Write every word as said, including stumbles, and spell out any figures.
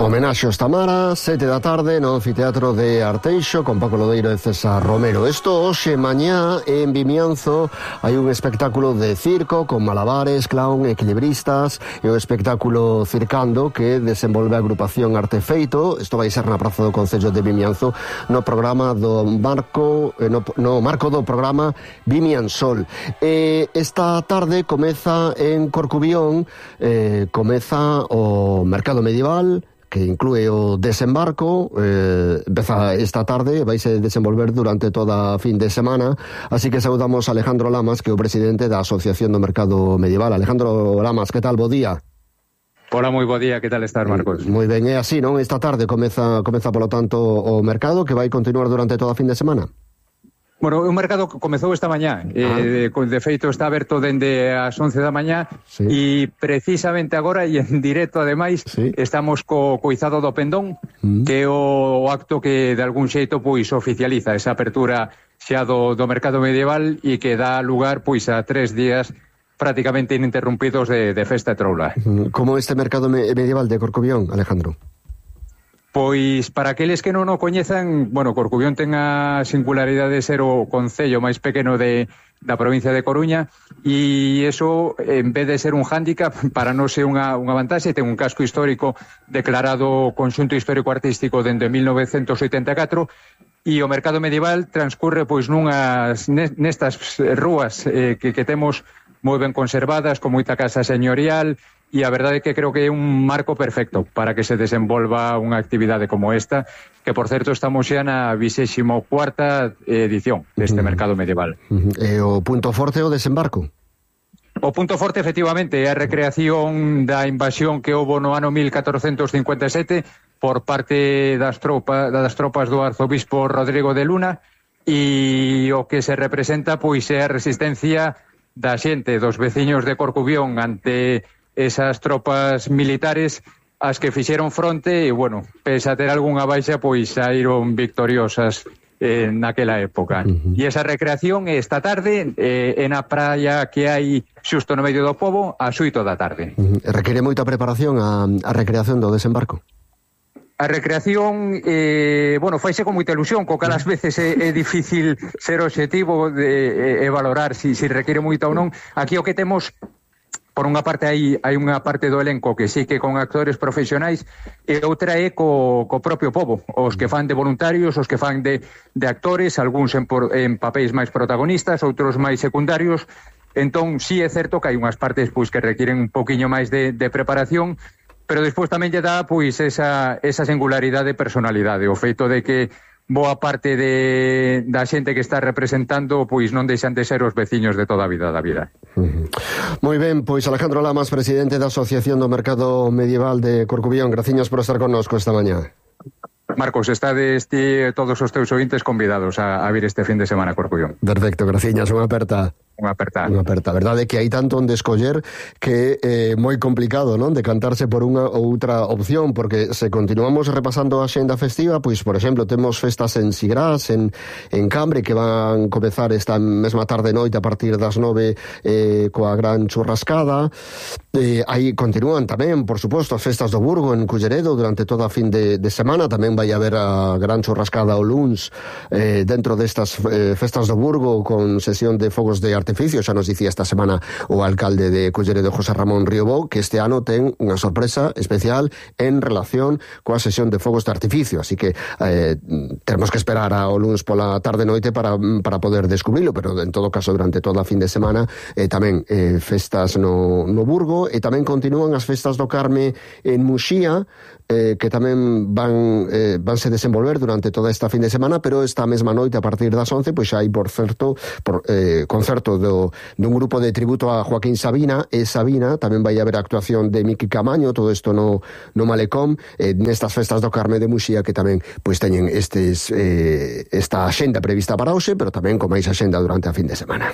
Homenaxe aos Tamara, sete da tarde no Anfiteatro de Arteixo con Paco Lodeiro e César Romero. Isto hoxe mañá en Vimianzo hai un espectáculo de circo con malabares, clown, equilibristas e o espectáculo Circando que desenvolve a agrupación Artefeito. Isto vai ser na Praza do Concello de Vimianzo no programa do marco no, no marco do programa Vimiansol. E esta tarde comeza en Corcubión, eh, comeza o Mercado Medieval, que inclúe o desembarco, eh, empeza esta tarde, vaise desenvolver durante toda a fin de semana, así que saudamos a Alejandro Lamas, que é o presidente da Asociación do Mercado Medieval. Alejandro Lamas, que tal? Bo día. Hola, moi bo día, que tal estás, Marcos? Moi ben, é así, non? Esta tarde comeza, comeza polo tanto o mercado, que vai continuar durante toda a fin de semana. Bueno, o mercado comezou esta mañá, ah. eh, de feito está aberto dende as once da mañá, sí. E precisamente agora, e en directo ademais, sí. Estamos co coizado do Pendón, mm. que é o, o acto que de algún xeito pois oficializa esa apertura xa do, do mercado medieval e que dá lugar pois a tres días prácticamente ininterrumpidos de, de festa e troula. Como este mercado medieval de Corcubión, Alejandro? Pois, para aqueles que non o coñezan, bueno, Corcubión ten a singularidade de ser o concello máis pequeno de, da provincia de Coruña e iso, en vez de ser un hándicap, para non ser unha, unha vantaxe, ten un casco histórico declarado Conxunto Histórico-Artístico dende mil novecentos oitenta e catro e o mercado medieval transcurre pois nunhas nestas rúas eh, que, que temos moi ben conservadas, con moita casa señorial. E a verdade é que creo que é un marco perfecto para que se desenvolva unha actividade como esta, que, por certo, estamos xa na vixésima cuarta edición deste uh-huh. mercado medieval. Uh-huh. E o punto forte é o desembarco? O punto forte, efectivamente, é a recreación da invasión que houbo no ano mil catrocentos cincuenta e sete por parte das tropas, das tropas do arzobispo Rodrigo de Luna, e o que se representa pois é a resistencia da xente, dos veciños de Corcubión ante esas tropas militares as que fixeron fronte e, bueno, pese a ter algunha baixa, pois saíron victoriosas eh, naquela época. Uh-huh. E esa recreación esta tarde eh, en a praia que hai xusto no medio do pobo a oito da tarde. Uh-huh. Require moita preparación a, a recreación do desembarco? A recreación, eh, bueno, faise con moita ilusión, co cal ás veces é, é difícil ser obxectivo de, e, e valorar se si, si require moita ou non. Aquí o que temos... Por unha parte hai, hai unha parte do elenco que sí que con actores profesionais e outra é co, co propio pobo, os que fan de voluntarios, os que fan de, de actores, algúns en, por, en papéis máis protagonistas, outros máis secundarios. Entón, sí é certo que hai unhas partes pois que requiren un poquinho máis de, de preparación, pero despois tamén lle dá pois esa, esa singularidade de personalidade, o feito de que boa parte de, da xente que está representando pois non deixan de ser os veciños de toda a vida da vida. Uh-huh. Moi ben, pois Alejandro Lamas, presidente da Asociación do Mercado Medieval de Corcubión, graciñas por estar connosco esta mañá. Marcos, estades ti todos os teus ointes convidados a, a vir este fin de semana a Corcubión. Perfecto, graciñas, unha aperta. Unha aperta. Unha aperta. A verdade é que hai tanto onde escoller que é eh, moi complicado, non? Decantarse por unha ou outra opción, porque se continuamos repasando a xenda festiva, pois, por exemplo, temos festas en Sigrás, en, en Cambre, que van comezar esta mesma tarde e noite a partir das nove eh, coa gran churrascada. Eh, aí continúan tamén, por suposto, as festas do Burgo en Culleredo durante toda a fin de, de semana. Tamén vai haber a gran churrascada o luns eh, dentro destas eh, festas do Burgo con sesión de fogos de artificio. Xa nos dicía esta semana o alcalde de Culleredo, José Ramón Riobó, que este ano ten unha sorpresa especial en relación coa sesión de fogos de artificio, así que eh, temos que esperar ao luns pola tarde noite para, para poder descubrilo, pero en todo caso durante toda a fin de semana eh, tamén eh, festas no, no Burgo, e tamén continúan as festas do Carme en Muxía, eh, que tamén van eh, vanse desenvolver durante toda esta fin de semana, pero esta mesma noite a partir das once pois xa hai, por certo, por, eh, concerto do, dun grupo de tributo a Joaquín Sabina e Sabina. Tamén vai haber a actuación de Miki Camaño, todo isto no, no Malecón, eh, nestas festas do Carme de Muxía, que tamén pois teñen estes eh, esta axenda prevista para hoxe, pero tamén con máis axenda durante a fin de semana.